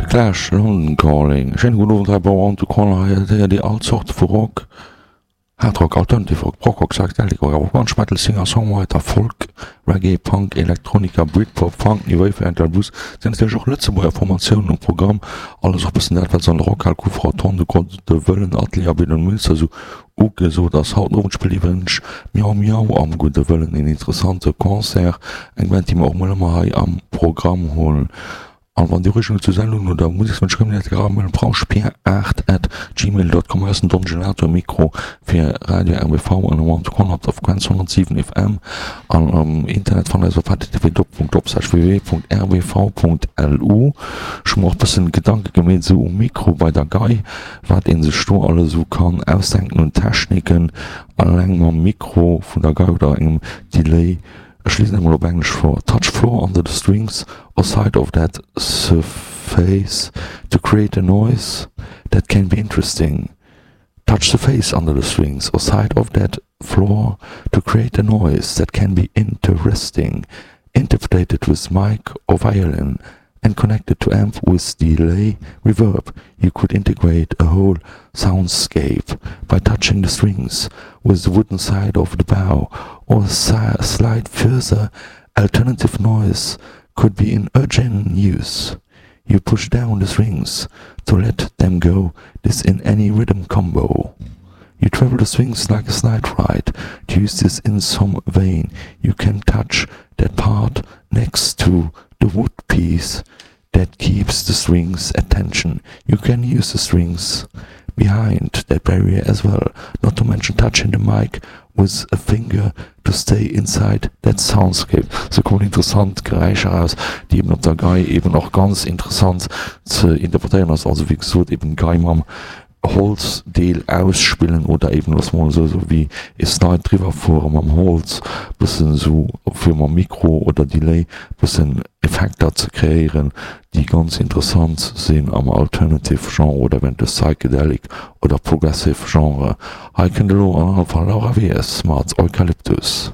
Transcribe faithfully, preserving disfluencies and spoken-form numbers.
Clash, London Calling. Schéine gudden Owend hei bei One to Call. Hei héiert Dir all Zorte vu Rock, Hard Rock, Alternative Rock, Prog Rock, Psychedelic Rock, awer och Grunge, Metal, Singer, Songwriter, Folk, Reggae, Punk, Elektronika, Britpop, Funk, New Wave, Metal, Blues. Sinn natierlech och Lëtzebuerger Formatiounen um Programm. Alles och bëssen dat, wat se an der Rockhal, Kufa, Rotonde, Gudde Wëllen, Atelier a Bidon Münster esou ugesot ass. Haut den Owend spillt iwwregens Miau Miau am Gudde Wëllen een interessante Concert, eng Band, déi mer och mol ëmmer hei am Programm hunn. An wann Dir Ureegungen zur Sendung oder Musekswënsch kënnt Dir dat mailen brauschpier aacht at gmail dot com. Hei ass den Don Gelato um Mikro fir Radio R B V an um One op der Frequenz honnertsiwen F M an am Internet fannt Dir eis op h T T P doppelpunkt doppelslash w w w punkt r b v punkt l u. Ech hu mer och bëssen Gedanke gemeet esou um Mikro bei der Gei, wat een sech do alles esou kann ausdenken un Techniken alleng mam Mikro vun der Gei oder engem Delay. Ech liesen emol op Englesch vor: Touch floor under the strings or side of that surface to create a noise that can be interesting. Touch the face under the strings or side of that floor to create a noise that can be interesting. Interpreted with mic or violin and connected to amp with delay reverb, you could integrate a whole soundscape by touching the strings with the wooden side of the bow or slide. Further alternative noise could be in urgent use. You push down the strings to let them go, this in any rhythm combo. You travel the strings like a slide ride. To use this in some vein, you can touch that part next to the wood piece that keeps the strings at tension. You can use the strings behind that barrier as well, not to mention touching the mic with a finger to stay inside that soundscape. Sou kommen interessant Geräischer eraus, déi eben op der Gei eben och ganz interessant ze interpretéieren ass. Also wéi gesot, eben Gei mam Holzdeel ausspillen oder eben loosse mer mol esou esou wéi e Slide driwwer fuere mam Holz, bëssen esou fir mam Mikro oder Delay bëssen Effekter ze kreéieren, déi ganz interessant sinn am Alternative Genre oder eventuell Psychedelic oder Progressive Genre. Hei kënnt elo an alle Fall Laura Wies mat Eucalyptus.